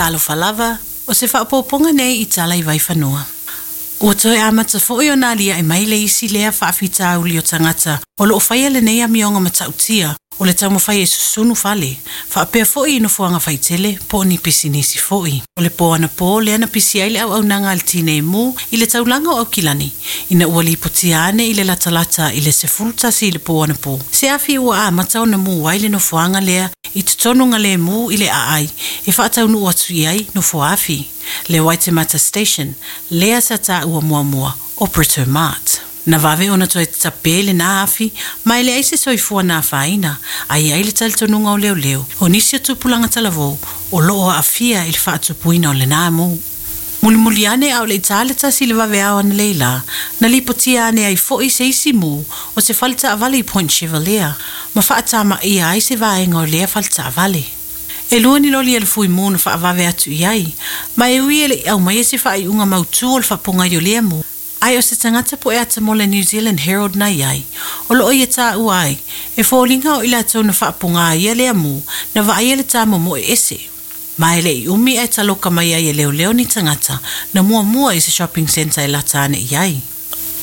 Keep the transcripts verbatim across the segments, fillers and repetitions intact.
Talofa lava, o se faaopoopoga nei i tala i Vaifanua. Ua toe amata foi ona aliae mai le isi lea faafitauli o tagata o loo faia lenei amioga matautia o le taumafai e susunu fale, faapea foi i nofoaga faitele po o ni pisinisi foi. O le po anapo lea na pisi ai le auaunaga a le Tinei Mu i le taulaga o Aukilani, ina ua lipotia ane i le latalata i le sefulu tasi i le po anapo se afi ua amata ona mu ai le nofoaga lea i totonu galemu i le aai e faataunuu atu i ai nofoafi, le Waitemata Station, lea sa taua muamua o Britomart. Na vave ona toe tape lena afi, ma e leai se soifua na afaina, ae i ai le talitonuga o leoleo o nisi o tupulaga talavou o loo aafia i le faatupuina o lena mu. Mulimuli ane a o le i ta le tasi i le vaveao analeila, na lipotia ane ai foi se isi mu o se fale taavale i Point Chevalier, ma faatamaia ai se vaega o lea fale taavale. E lua ni loli a le fui mu na faavave atu i ai, ma e ui e le i aumaia se faaiuga mautū o le faapogai o lea mu, ae o se tagata po e ata mo le New Zealand Herald na i ai, o loo ia taua ai, e foliga o i latou na faapoga ia lea mu, na vaaia le tamomoe ese. Ma e le i umi ae taloka mai ai e leoleo ni tagata na muamua i se shopping centre e lata ane i ai.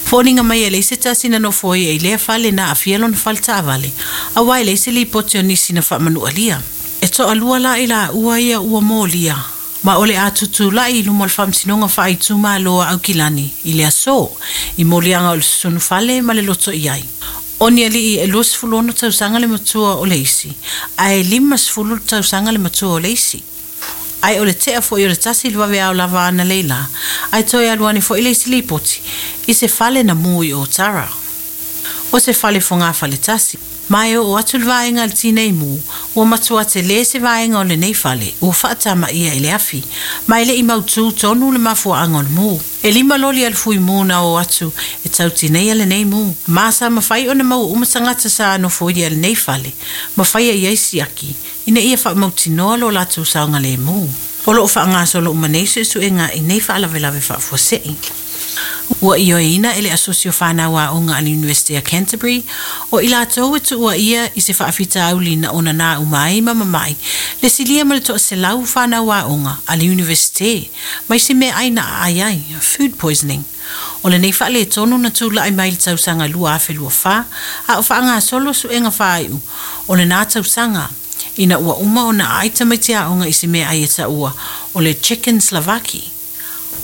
Foliga mai e leai se tasi na nofoia i lea fale na aafia lona fale taavale, auā e leai se lipoti o nisi na faamanualia. E toalua la i laua ia ua molia, ma o le a tutulai i luma o le faamasinoga faaitumalo a Aukilani i le aso, i moliaga o le susunu fale ma le loto i ai. O ni alii e luasefulu ono tausaga le matua o le isi, ae limasefulu tausaga le matua o le isi. Ae o le tea foi o le tasi i le vaveao lava analeila, ae toe alu ane foi le isi lipoti i se fale na mu i Otara. O se fale fogafale tasi, ma e oo atu le vaega a le Tinei Mu, ua matua telē se vaega o lenei fale ua faatamaia i le afi, ma e le i mautū tonu le mafuaaga o le mu. E lima loli a le fui mu na o atu e tautineia lenei mu, ma sa mafai ona maua uma tagata sa nofoia lenei fale, ma faia i ai siaki, ina ia faamautinoa lo latou saogalemu. O loo faagasolo uma nei suesuega i nei faalavelave faafuasei. Ua ioeina e le Asosi o Fanau Aoga a le University o Canterbury o i latou e tuuaia i se faafitauli na onanā uma ai ma mama'i le silia ma le toaselau fanau aoga a le Universite mai se meaai na aai ai, food poisoning. O lenei faaletonu na tula'i mai le tausaga lua afe lua fa, a o faagasolo suega faaiu o lenā tausaga ina ua uma ona aai tamaiti aoga i se meaai e taua o le chicken souvlaki.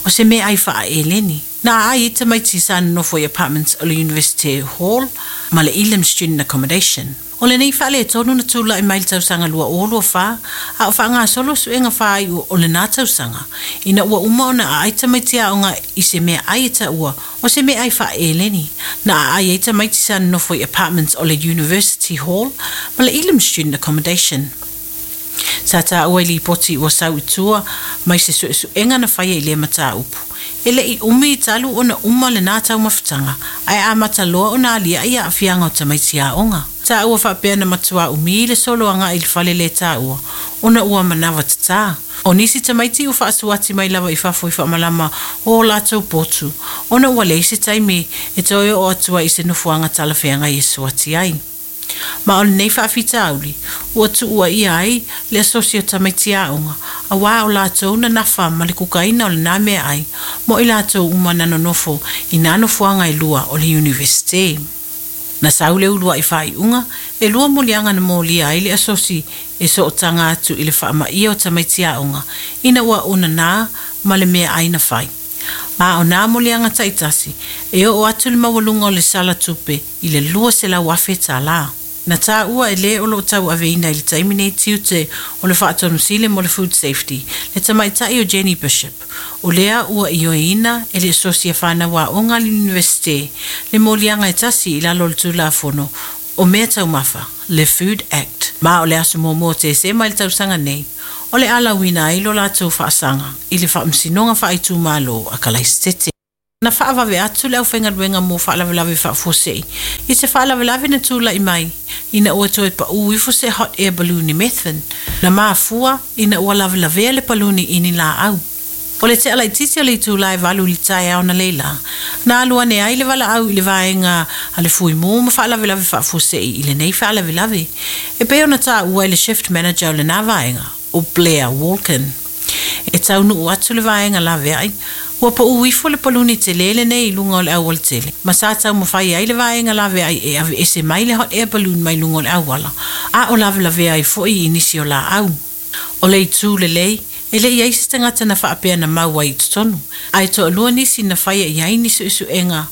O se meaai faaeleni na aai ai tamaiti sa nonofo i apartments o le University Hall ma le Elam Student Accommodation. O lenei faaletonu na tula'i mai le tausaga lua o lua fa, a o faagasolo suega faaiu o lenā tausaga ina ua uma ona aai tamaiti aoga i se meaai e taua o se meaai faaeleni na aai ai tamaiti sa nonofo i apartments o le University Hall ma le Elam Student Accommodation. Sa taua i lipoti ua sau i tua mai se suesuega na faia i lea mataupu, e le i umi talu ona uma lenā taumafataga, ae amata loa ona aliaʻi aafiaga o tamaiti aoga. Taua faapea na matuā umi le solo agaʻi i le fale le taua ona ua manava tatā. O nisi tamaiti ua faasuati mai lava i fafo i faamalama o o latou potu, ona ua leai se taimi e toe oo atu ai i se nofoaga talafeagai e suati ai. Ma o lenei faafitauli ua tuuaia ai le asosi o tamaiti aoga, auā o latou na nafa ma le kukaina o lenā meaai mo i latou uma na nonofo i nā nofoaga e lua o le Universite. Na sau le uluai faaiuga e lua moliaga na molia ai le asosi e sootaga atu i le faamaia o tamaiti aoga ina ua onanā ma le meaai na fai. Ma o nā moliaga taitasi e oo atu le maualuga o le sala tupe i le lua selau afe tālā. Na taua e le o loo tauaveina i le taimi nei tiute o le faatonusili mo le Food Safety, le tamaitai o Jenny Bishop. O lea ua ioeina e le Asosi a Fanau Aoga a le Universite le moliaga e tasi i lalo o le Tulafono o Mea Taumafa, le Food Act. Ma o le aso muamua o Tesema i le tausaga nei, o le alauina ai lo latou faasaga i le faamasinoga faaitumalo a Kalaisitete. Na faavave atu le aufaigaluega mo faalavelave faafuasei i se faalavelave na tulaʻi mai ina ua toe paʻū ifo se hot air balloon i Methven, na mafua ina ua lavelavea le paluni i ni laau. O le tea laitiiti o le itulā e valu i le taeao analeila, na alu ane ai le valaau i le vaega a le Fuimu ma Faalavelave Faafuasei i lenei faalavelave, e pei ona taua i le shift manager o lenā vaega, o Blair Walken. E taunuu atu le vaega laveai, ua pau ifo le paluni tele lenei i luga o le aualatele. Ma sa taumafai ai le vaega laveai e aveese mai le hot air balloon mai luga o le auala, a o lavelavea ai foi i nisi o laau. O le itu lelei, e le i ai se tagata na faapea na maua i totonu, ae toalua nisi na faia i ai ni suesuega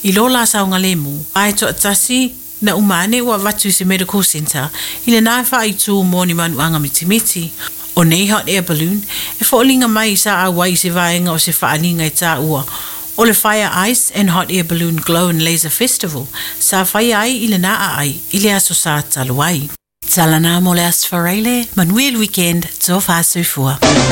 i lo la saogalemu, ae toatasi na uma ane ua avatu i se medical centre i lena faaitu mo ni manuaga mitimiti. O nei hot air balloon e foliga mai sa auai i se vaega o se faaaliga e taua o le Fire Ice and Hot Air Balloon Glow and Laser Festival sa faia ai i lena aai i le aso Sa talu ai. Tala na mo le Aso Faraile, manuia le weekend, tofa soifua.